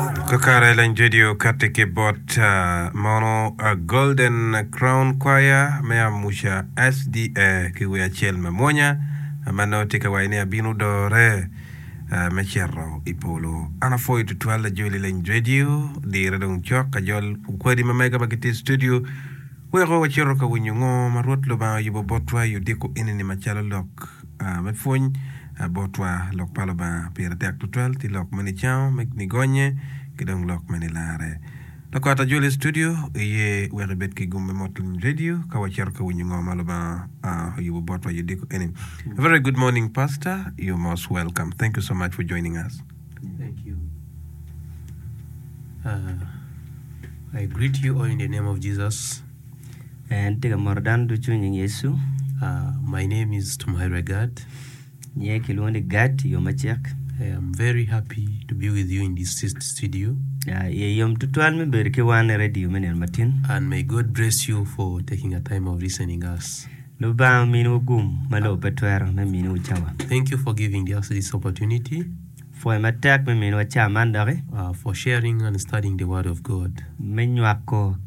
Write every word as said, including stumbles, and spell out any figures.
Kakare lany radio kati ki bot uh, mono uh, Golden Crown Choir me Amuca SDA ki wer acel ma mwonya ma nongo tye ka waco ni abino dore uh, me cito i polo. An apwoyo tutwal ajoli lany radio dire dong cok ajol kwadi ma mega ma gitye i studio weko wacito ka winyo ngo ma Rwot Lubanga oyubo botwa i odiko enini macalo lok uh, me pwony uh, botwa lok pa Lubanga pire tek tutwal tye lok me nicango me nigonye ki dong lok me nilare. Lakot ajoli studio iye wek ibed ki gum me mot lany radio ka wacito ka winyo ngo ma Lubanga uh, oyubo botwa i odiko eni. A very good morning pastor you're most welcome thank you so much for joining us. Thank you. Uh, I greet you all in the name of Jesus. En tye ka moto dano ducu i nying Yecu. Uh, my name is Tumuhairwe Gad. Nyinge kilwongo ni Gad i yo macek. I am very happy to be with you in this st- studio. Ah, Iye yom tutwal me bedo ki wan i radio me nino matin. And may God bless you for taking a time of listening us. Lubanga ominiwu gum ma lobo pe twero me miniwu cawa. Thank you for giving us this opportunity Pwoyo matek me miniwa cawa man doki uh, for sharing and studying the Word of God. me nywako